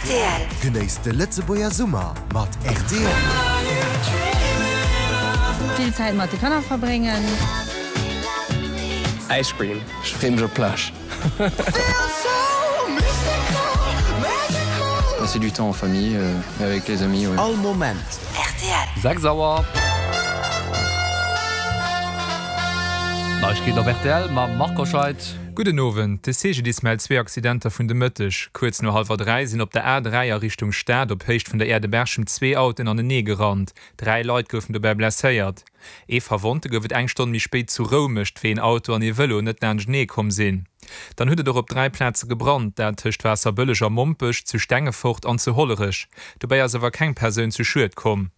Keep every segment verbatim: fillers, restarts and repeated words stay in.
Rtl. Genéisst de Lëtzebuerger Summer mat rtl. Vill Zäit mat de Kanner verbréngen. Ice cream. Ech freeë mech op d'Plage. Passer du temps en famille et avec les amis, ouais. All Moment. Rtl. Sechs Auer. Neiegkeeten op rtl mam Marc Hoscheid. Gudden Owend. De C G D I S mellt zwee Accidenter vun de Mëtteg. Kuerz no hallwer dräi sinn op der A dräi a Richtung Stad op Héicht vun der Aire de Berchem zwee Autoen anenee gerannt. Dräi Leit goufen dobäi blesséiert. Ee Verwonnte gouf et eng Stonn méi spéit zu Roumecht, wéi een Auto an ee Vëlo net laanschtenee komm sinn. Dann huet et och op dräi Plaze gebrannt, dat tëscht Waasserbëlleg a Mompech, zu Stengefort an zu Hollerech. Dobäi ass awer keng Persoun zu Schued komm.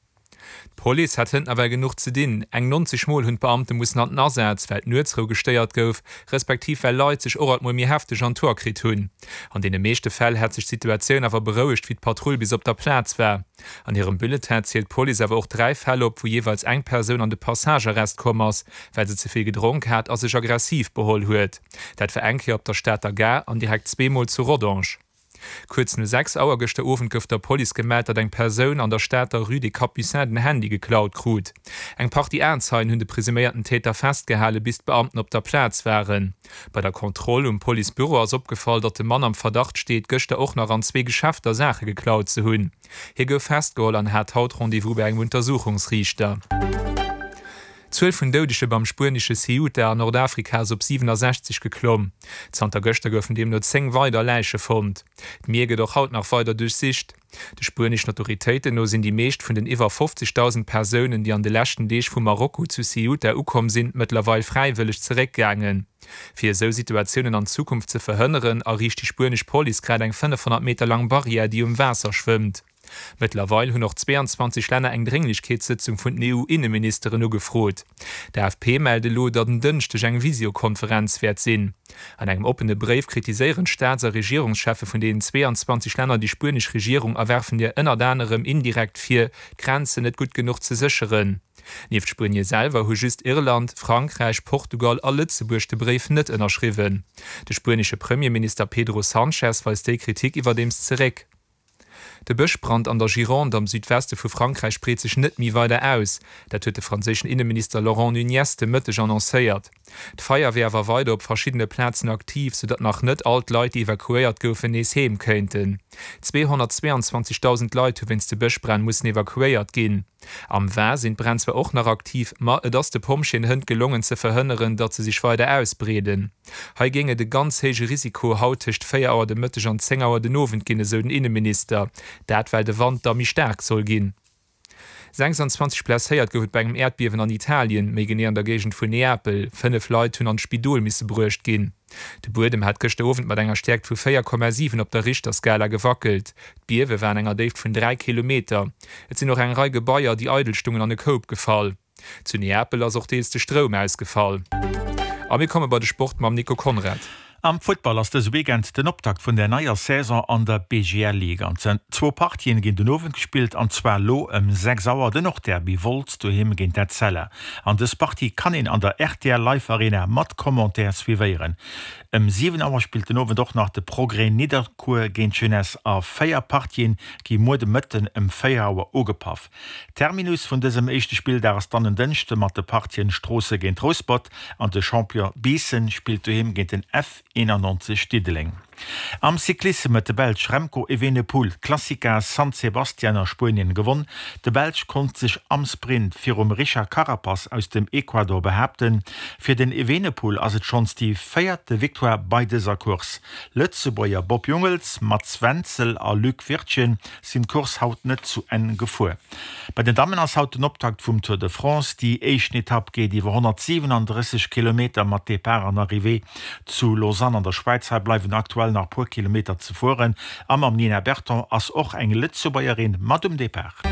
D'Police hat hënt nawell genuch ze dinn. Eng neunzeg Mol hunn d'Beamte mussen an den Asaz, well d'Nuetsrou gestéiert gouf, respektiv well Leit sech och alt mol méi hefteg an d'Hoer kritt hunn. An deene meeschte Fäll hätt sech d'Situatioun awer berouegt, wéi d'Patrull bis op der Plaz war. An hirem Bulletin zielt d'Police awer och dräi Fäll op, wou jeeweils eng Persoun an de Passagearrest komm ass, well se ze vill gedronk hat a sech aggressiv beholl huet. Dat war eng Kéier op der Stater Gare an direkt zweemol zu Rodange. Kuerz no sechs Auer gëschter Owend gouf der Police gemellt, datt eng Persoun an der Stater Rue des Capucins den Handy geklaut krut. Eng Partie Aenzeien hunn de presuméierten Täter festgehale bis d'Beamten op der Plaz waren. Bei der Kontroll um Policebüro ass opgefall, datt de Mann am Verdacht steet, gëschter och nach an zwee Geschäfter Saache geklaut ze hunn. Hie gouf festgeholl an hat haut Rendez-vous bei engem Untersuchungsriichter. D'Zuel vun Doudege beim spuenesche Ceuta an Nordafrika ass op siwenesechzeg geklomm. Zanter gëschter goufen deemno zéng weider Läiche fonnt. D'Mier gëtt och haut nach weider duerchsicht. De spueneschen Autoritéiten no sinn déi meescht vun den iwwer fofzegdausend Persounen, déi an de leschten Deeg vu Marokko zu Ceuta ukomm sinn, mëttlerweil fräiwëlleg zeréckgaangen. Fir esou Situatiounen an Zukunft ze verhënneren, erriicht déi spuenesch Police grad eng fënnefhonnert Meter laang Barrière, déi um Waasser schwëmmt. Mëttlerweil hunn och zweeanzwanzeg Länner eng Drénglechkeetssëtzung vun den E U-Inneministeren ugefrot. D'A F P mellt elo, datt en Dënschdeg eng Visiokonferenz wäert sinn. An engem oppene Bréif kritiséieren d'Staats a Regierungscheffe vun deenen zweeanzwanzeg Länner déi spuenesch Regierung a werfen hir ënnert anerem indirekt vir, d'Grenzen net gutt genuch ze sécheren. Nieft Spuenie selwer hu just Irland, Frankräich, Portugal a Lëtzebuerg de Bréif net ënnerschriwwen. De spuenesche Premierminister Pedro Sánchez weist déi Kritik iwwerdeems zeréck. De Bëschbrand an der Gironde am Südweste vu Frankräich breet sech net méi weider aus. Dat huet de franséischen Inneminister Laurent Nunez de Mëtteg annoncéiert. D'Feier wier awer weider op verschiddene Plazen aktiv, soudatt nach net all d'Leit, déi evakuéiert goufen, nees heem kéinten. Zweehonnertzweeanzwanzegdausend Leit hu wéinst de Bëschbränn mussen evakuéiert ginn. Am Var sinn d'Bränn zwar och nach aktiv, ma et ass de Pompjeeën hënt gelongen ze verhënneren, datt se sech weider ausbreeden. Hei géing et e ganz héije Risiko haut tëscht véier Auer de Mëtteg an zéng Auer den Owend ginn, esou den Inneminister. Dat well de Wand da méi staark soll ginn. Sechsanzwanzeg Blesséiert gouf et bei engem Äerdbiewen an Italien, méi genee an der Géigend vun Neapel. Fënnef Leit hunn an d'Spidol misse bruecht ginn. De Buedem hat gëschter Owend mat enger Stäerkt vu véier Komma siwen op der Richterskala gewackelt. D'Biewe war an enger Déift vun dräi Kilometer. Et sinn och eng Rei Gebaier, déi eidel stungen, an e Koup gefall. Zu Neapel ass och deels de Stroum ausgefall. A mir komme bei de Sport mam Nico Conrad. Am Futtball ass dëse Weekend den Optakt vun der neier Saison an der B G L Ligue. An zwou Partien ginn den Owend gespillt, an zwar lo ëm sechs Auer den Nordderby Wolz doheem géint Etzella. An dës Partie kann een an der R T L Live Arena mat Commentaire suivéieren. Ëm siwen Auer spillt den Owend och nach de Progrès Nidderkuer géint Jeunesse a véier Partien gi muer de Mëtten ëm véier Auer ugepaff. Terminus vun dësem éischte Spilldag ass dann en Dënschde mat de Partien Stroossen géint Rouspert an de Champion Biissen spillt doheem géint den F einenannzeg Diddeleng. Am Cyclissem huet de Belsch Remco Evenepoel d'Clásica San Sebastian a Spuenien gewonn. De Belsch konnt sech am Sprint virum Richard Carapaz aus dem Ecuador behaapten. Fir den Evenepoel ass et schonns déi véierte Victoire bei dëser Course. Lëtzebuerger Bob Jungels, Mats Wenzel a Luc Wirtgen sinn d'Course haut net zu Enn gefuer. Bei den Dammen ass haut den Optakt vum Tour de France. Déi éischt Etapp geet iwwer honnertsiwenandrësseg Kilometer mat Depart an Arrivée zu Lausanne an der Schwäiz. Hei bleiwen aktuell nach puer Kilometer ze fueren. A mam Nina Berton ass och eng Lëtzebuergerin mat um Depart.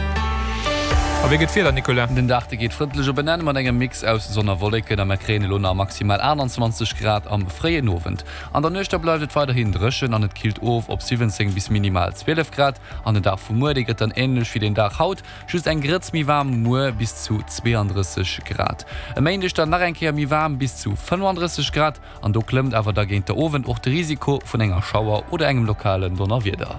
A wéi gëtt d'Wieder, Nicolas? Den Dag de geet frëndlech op en Enn mat engem Mix aus Sonn a Wolleken a mer kréien elo nach maximal aachtanzwanzeg Grad am fréien Owend. An der Nuecht da bleift et weiderhin dréchen an et killt of op siwwenzéng bis minimal zwielef Grad. An den Dag vu muer, dee gëtt dann änlech wéi den Dag haut, just eng Grëtz méi waarm muer, bis zu zweeandrësseg Grad. E Méindeg dann nach eng Kéier méi waarm, bis zu fënnefandrësseg Grad an do klëmmt awer da géint de Owend och de Risiko vun enger Schauer oder engem lokalen Donnerwieder.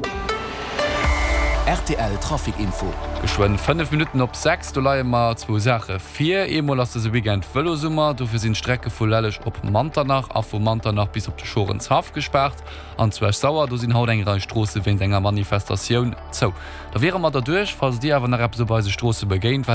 Rtl Trafic Info. Geschwënn fënnef Minutten op sechs, do leie mer zwou Saache vir. Eemol ass dëse Weekend Vëlosummer, dofir sinn d'Strecke vu Lelleg op Manternach a vu Manternach bis op de Schorenshaff gespaart. An zu Esch-Sauer, do sinn haut eng Rei Stroosse wéinst enger Manifestatioun zou. Da wiere mer derduerch. Falls Dir awer nach eppes op eise Stroosse begéint, wat.